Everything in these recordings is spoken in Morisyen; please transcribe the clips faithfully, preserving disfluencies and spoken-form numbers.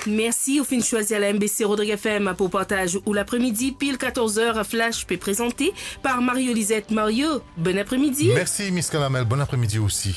Mersi, ou finn swazir la M B C Rodrigues F M pou partaz ou lapremidi. Pil katorz er, Flash pe prezante par Mario Lisette. Mario, bon apremidi. Mersi, Miss Kalamel. Bon apremidi osi.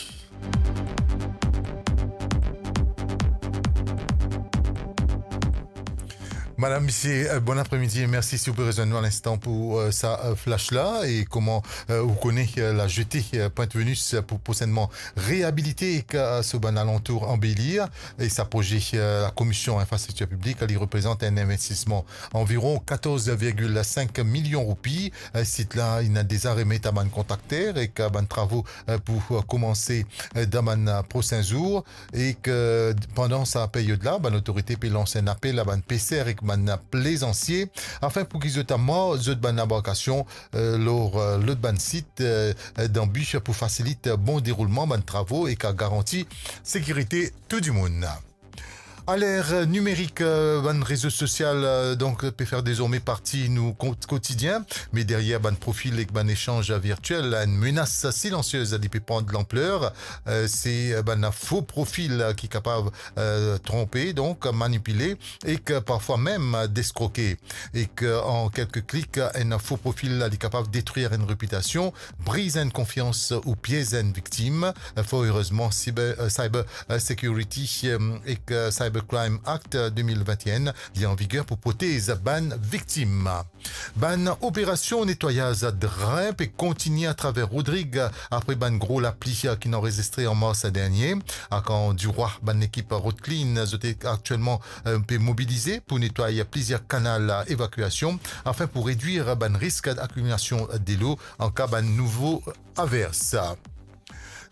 Madam, misie, euh, bon apremidi e mersi si ou pe rezwenn nou a linstan pou, euh, sa, euh, flash la. E kouma, euh, ou kone, euh, la jetée, euh, Pointe Venus, euh, pou prosennman reabilite ek, euh, so bann alantour anbelir. E sa proze, euh, Lakomision Infrastriktir Piblik, li reprezant enn investisman anviron katorz virgil sink milion roupi. Euh, sit la, inn deza remet a bann kontrakter ek, euh, bann travo, euh, pou, euh, koumanse, euh, dan bann, euh, prosin zour. Ek pandan sa peryod la, bann otorite pe lans enn apel a bann peser ek bann plezansie, afin pou ki zot amar zot bann lanbarkasion, euh, lor, euh, lot bann sit, euh, dan bi pou fasilit bon deroulman bann travo ek a garanti sekirite tou dimoun. Aler, euh, nimerik, euh, bann rezo sosial, euh, donk, pe fer dezorme parti nou ko-, kotidien, me deryer bann profil ek bann esanz virtiel, enn menas silansiez li pe pran de lanpler. Euh, se, euh, bann fo profil, euh, ki kapav, euh, tronpe, donk manipile, ek parfwa mem, euh, eskroke. Ek an kelke klik, enn fo profil li kapav detrir enn repitasion, briz enn konfians ou piez enn viktim. Fort erezman, cyber, euh, cyber, euh, security, euh, ek, euh, Cybercrime Act, euh, de mil vennteen, li an viger pou protez bann viktim. Bann operasion netwayaz drin pe kontigne atraver Rodrig apre bann gro lapli ki inn anrezistre an mars dernie. Akan Dirwa, bann lekip Road Clean, zot aktielman, euh, pe mobilize pou netway plizier kanal evakwasion, afin pou redwir bann risk akimilasion delo an ka bann nouvo avers.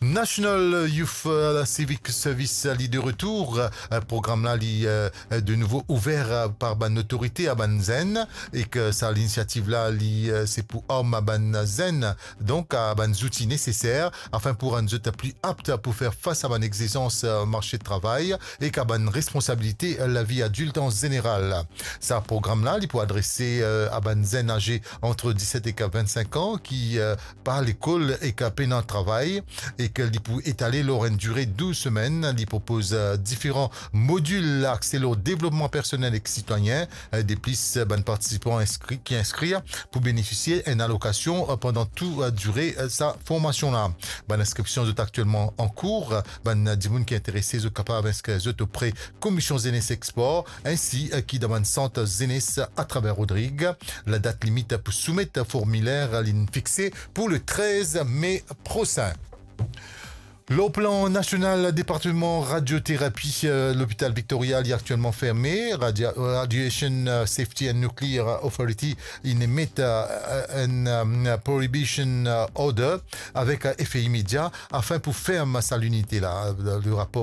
National Youth, euh, Civic Service, li de retour. Euh, program la, li, euh, de nouvo ouver, euh, par bann otorite a bann zenn, ek sa linisiativ la, li, euh, se pou arm bann zenn, donk a bann zouti neseser, afin pou rann zot pli apt pou fer fas a bann exizans, euh, marse travay, ek a bann responsabilite, euh, lavi adilt an zeneral. Sa program la, li pou adrese, euh, a bann zenn aze ant diset ek vennsenk an ki, euh, pa lekol ek pena travay, ek li pou etale lor enn dire douz semenn. Li propoz, euh, diferan modil akse lor devlopman personel ek sitwayen. Euh, deplis, euh, bann partisipan inskri, ki inskri pou benefisie enn alokasion, euh, pandan tou, euh, dire, euh, sa formasion la. Bann inskripsion zot aktielman an kour. Bann dimoun ki interese, zot kapav inskrir zot opre Komision Zenes ek Spor, ensi, euh, ki dan bann sant zenes atraver Rodrig. Ladat limit pou soumet formiler, li fixe pou le trez me prosin. Lor plan nasional, departman radioterapi, euh, Lopital Victoria, li aktielman ferme. Radia-, Radiation, euh, Safety and Nuclear Authority, inn emet, euh, enn, euh, prohibition, euh, order avek, euh, efe imedia, afin pou ferm sa linite la. Le rapor